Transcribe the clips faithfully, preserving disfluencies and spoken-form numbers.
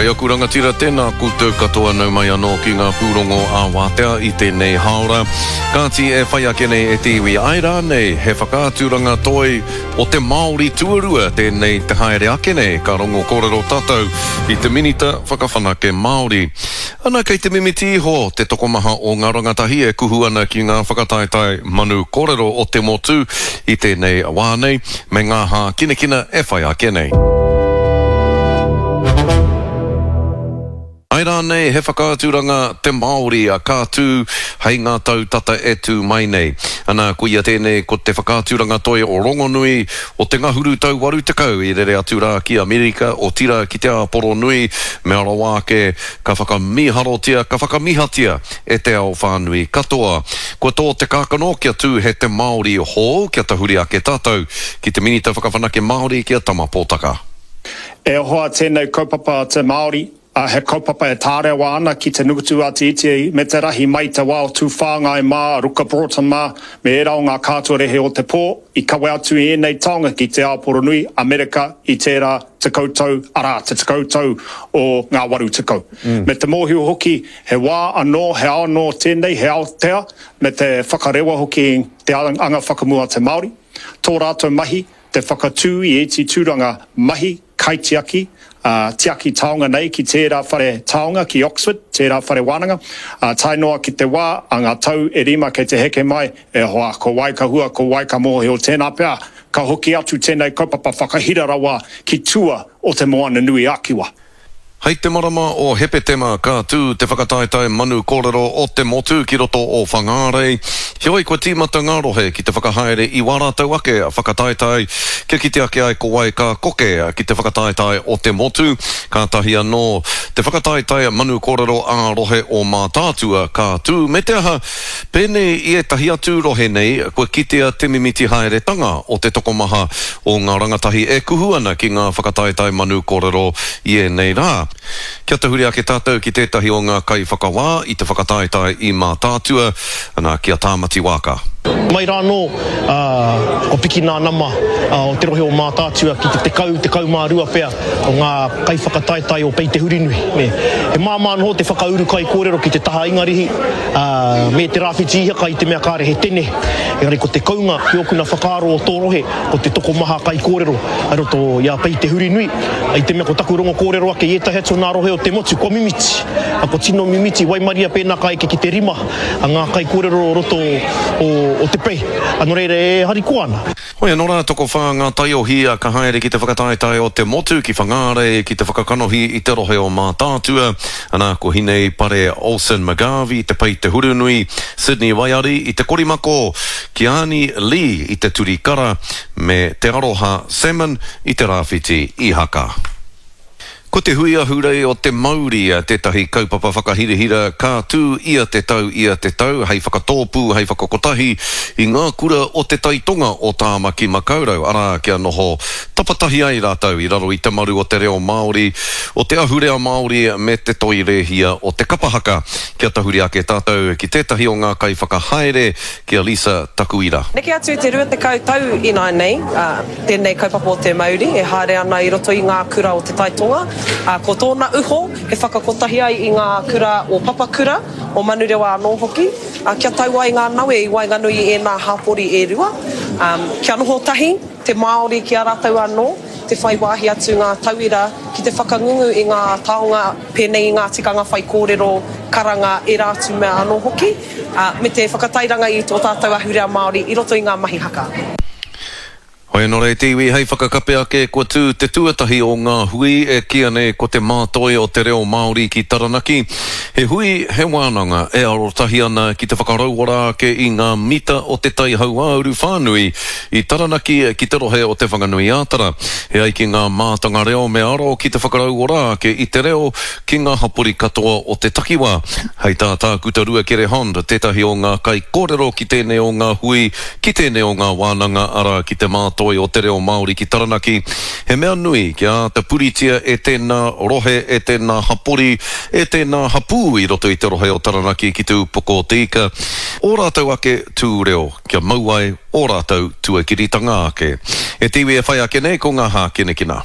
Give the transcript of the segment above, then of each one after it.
E aku rangatira, tēnā koutou katoa nau mai anō ki ngā pūrongo ā-wātea i tēnei hāora. Kāti e whai ake nei e te iwi, āe rānei he whakaaturanga toi o te Māori tuarua tēnei te haere ake nei, ka rongo kōrero tātou i te Minita Whakawhanake Māori. Ana kei te mimiti iho te tokomaha o ngā rangatahi e kuhu ana ki ngā whakataetae manu kōrero o te motu i tēnei wā nei, me ngā hākinakina e whai ake nei. Āe rānei he whakaaturanga te Māori ka tū hei ngā tau tata e tū mai nei. Ana, koia tēnei ko te whakaaturanga toi o rongonui o te ngahuru tau waru tekau i rere atu rā ki Amerika, otirā ki te Āporo nui, mea rawa ake ka whakamīharotia, ka whakamihatia e te ao whānui katoa. Kua tō te kākano kia tū he te Māori hou, kia tahuri ake tātou ki te Minita Whakawhanake Māori ki a Tama Potaka. E hoa tēnei kaupapa te Māori, a he kaupapa e tārewa ana ki te nukutu a te iti me te rahi mai te wā o Tūwhāngai mā, Ruka Broughton mā, me ērā o ngā kātuarehe o te pō, i kawe atu i ēnei taonga ki te Āporo nui, Amerika, i tērā tekau tau, arā, te tekau tau o ngā waru tekau. Mm. Me te mōhio hoki, he wā anō, he ao anō tēnei, he aotea, me te whakarewa hoki te anga whakamua te Māori. Tō rātou mahi, te whakatū i ēti tūranga mahi, kaitiaki, uh, tiaki taonga nei ki tērā whare taonga ki Oxford, tērā whare wānanga, uh, tae noa ki te wā a ngā tau e rima kei te heke mai, e hoa, ko wai ka hua, ko wai ka mōhio tēnā pea, ka hoki atu tēnei kaupapa whakahira rawa ki tua o te Moana Nui a Kiwa. Hei te marama o Hepetema ka tū te whakataetae manu kōrero o te motu ki roto o Whangārei. Heoi kua tīmata ngā rohe ki te whakahaere i wā rātou ake whakataetae kia kite ake ai ko wai ka koke ki te whakataetae o te motu. Kātahi anō te whakataetae manu kōrero ā rohe o Mātaatua ka tū me te aha pēnei i ētahi atu rohe nei kua kitea te mimiti haeretanga o te tokomaha o ngā rangatahi e kuhu ana ki ngā whakataetae manu kōrero i ēnei rā. Kia tahuri ake tātou ki tētahi o ngā kaiwhakawā i te whakataetae i Mātaatua, ana ki a Tāmati Wāka. Mai rānō, uh, ko piki nā nama uh, o te rohe o Mātaatua ki te tekau, tekau mā rua pea o ngā kaiwhakataetae o Pei Te Hurinui. Ne. He māmā noho te whakauru kaikōrero ki te taha Ingarihi, uh, me te rāwhiti ihaka i te mea kāre he tene. Engari ko te kounga ki ōkuna whakaaro o tō rohe, ko te tokomaha kaikōrero a roto i a Pei Te Hurinui. I te mea ko taku rongo kōrero ake i ētahi atu nā rohe o te motu, kua mimiti. A ko tino mimiti, waimaria pēnā ka eke ki te rima a ngā kaikōrero o roto o, o te pei. A nō reira e harikoa ana. Hoi anō rā, tokowhā ngā taiohi ka haere ki te whakataetae o te motu, ki Whangārei, ki te whakakanohi i te rohe o Mātaatua. Ana, ko Hinei Pare Olsen McGarvey, te Pei Te Hurunui, Sydney Waiari i te Korimako, Kiani Lee i te Turikara, me Te Aroha Salmon i te Rāwhiti Ihaka. Ko te hui ahurei o te Mauri tētahi kaupapa whakahirahira ka tū ia te tau ia te tau hei whakatōpū, hei whakakotahi i ngā kura o te taitonga o Tāmaki Makaurau, arā kia noho tapatahi ai rātou i raro i te maru o te reo Māori, o te ahurea Māori me te toi rēhia o te kapahaka. Kia tahuri ake tātou ki tētahi o ngā kaiwhakahaere ki a Lisa Takuira. Neke atu i te rua tekau tau ināianei, uh, tēnei kaupapa o te Mauri e haere ana i roto i ngā kura o te taitonga. Uh, ko tōna uho he whakakotahi ai i ngā kura o Papakura, o Manurewa anō hoki, uh, kia tau ai ngā nawe i waenganui i ēnā hapori e rua, um, kia noho tahi te Māori ki a rātou anō, te whai wāhi atu ngā tauira ki te whakangungu i ngā taonga pēnei i ngā tikanga whai kōrero, karanga, ērā atu mea anō hoki, uh, me te whakatairanga i tō tātou ahurea Māori i roto i ngā mahi haka. Hoi anō rei te iwi hei whakakape ake kua tū te tuatahi o ngā hui e kīia nei ko te mātoi o te reo Māori ki Taranaki. He hui, he wānanga e arotahi ana ki te whakarauora ake i ngā mita o te tai hauāuru whānui i Taranaki ki te rohe o te Whanganui-ā-Tara. He ai ki ngā mātanga reo me aro ki te whakarauora ake i te reo ki ngā hapori katoa o te takiwā. Hei tā Tākuta Ruakere Hond, tētahi o ngā kaikōrero ki tēnei o ngā hui, ki tēnei o ngā wānanga arā ki te mātoi o te reo Māori ki Taranaki. He mea nui kia āta puritia e tēnā rohe, e tēnā hapori, e tēnā hapū i roto i te rohe o Taranaki ki te upoko o te ika. O rātou ake tū reo, kia mau ai o rātou tuakiritanga ake. E te iwi e whai ake nei ko ngā hākinakina.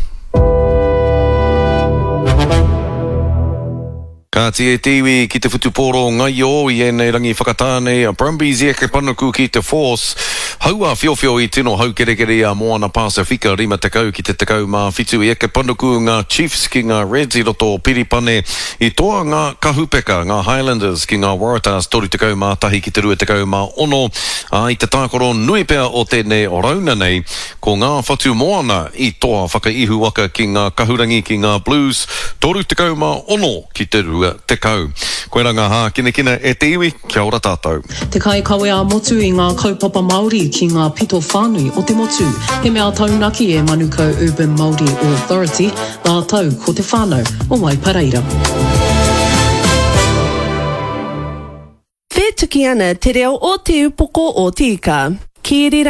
Kāti e te iwi ki te whutupōro ngaio i ēnei rangi whakatā nei a Brumbies i eke panuku ki te Force. Hau-ā-whiowhio i tino haukerekere i a Moana Pasifika rima tekau ki te tekau mā whitu i eke panuku ngā Chiefs ki ngā Reds i roto o Piripane. I toa ngā Kahupeka, ngā Highlanders ki ngā Waratahs toru tekau mā tahi ki te rua tekau mā ono, ā, i te tākaro nui pea o tēnei rauna nei, ko ngā Whatu Moana i toa whakaihuwaka ki ngā Kahurangi ki ngā Blues, toru tekau mā ono ki te rua tekau. Koirā ngā hākinakina e te iwi, kia ora tātou. Te kaikawe ā-motu i ngā kaupapa Māori ki ngā pito whānui o te motu. He mea taunaki e Manukau Urban Māori Authority rātou ko te whānau o Waipareira. Whētuki ana te reo o Te Upoko o Te Ika. Kiri